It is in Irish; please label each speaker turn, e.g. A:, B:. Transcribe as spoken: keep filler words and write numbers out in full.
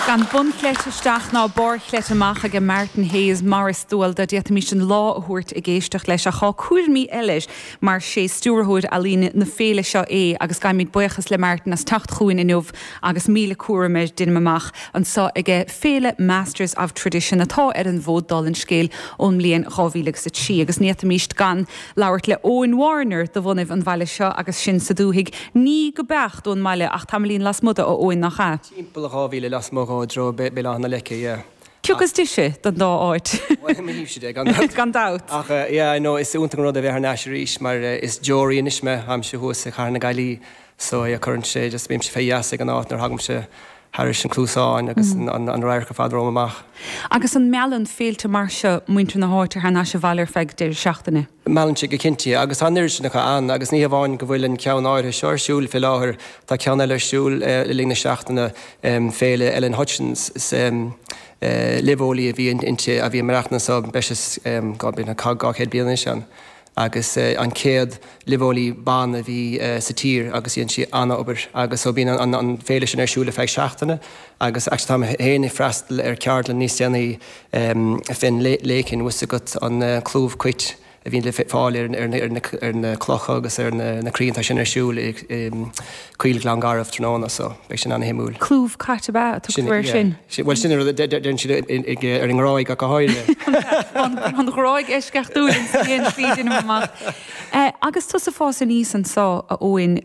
A: Gan bunchleite isteach ná barrchleite amach ag Martin Hayes mar is dual dó, d'fhéadfaimis an lá a thabhairt ag éisteacht leis ach tá cúraimí eile mar sé stiúrthóir ealaíne na féile seo é agus gabhaimid buíochas le Martin as teacht chugainn inniu agus míle cúram air déanaim amach anseo ag Féile Masters of Tradition atá ar an bhfód dála an scéil ón mbliain dhá mhíle agus a trí agus ní fhéadfaimis gan labhairt le Eoin Warner de bhunaibh an bhaile seo agus sin sa dúthaigh ní go beacht ón mbaile ach tamaillín lasmuigh de a Eoin nach ea.
B: Timpeall dhá mhíle lasmuigh i dtreo Béal Átha na Leice, yeah.
A: Cé is deise don dá áit.
B: Gan dabht.
A: Gan dabht.
B: Ach yeah, no, is iontach an rud a bheith thar n-ais arís mar is deoraí anois mé, táimse thuas i Chathair na Gaillimhe so yeah, cuireann sé just bímse fé gheasa ag an áit nuair a thagaimse thairis an cluasáin agus an an radharc ar fad romham amach.
A: Agus an meallann féilte mar seo muintir na háite thar n-ais abhaile ar feadh deireadh seachtaine?
B: Meallann sé go cinnte agus tá an oiread sin acu ann agus ní hamháin go bhfuil an ceann áirithe seo ar siúl fé láthair, tá ceann eile ar siúl le linn na seachtaine, Féile Ellen Hutchins, is luibheolaí a bhí inti a bhí ag maireachtaint anso breis is dhá chéad bliain anois ann agus an chéad luibheolaí ban a bhí sa tír agus dhein sí an-obair agus so bíonn an féile sin ar siúl ar feadh seachtaine agus actually tá mé féin ag freastal ar ceardlann níos déanaí fén léicean, bhfuil 's agat an clúmh cait a bhíonn le fáil ar na clocha agus ar na crainn, tá sin ar siúl i Coill Ghleann Garbh tráthnóna so beidh sin an-shuimiúil.
A: Clúmh cait ab ea a tugtar air sin?
B: Bhuel sin an rud a deireann siad ar an nGráig ach go háirithe.
A: An Ghráig eisceachtúil in aon slí, déanaim amach. Agus tusa ag fás aníos anso, a Eoin,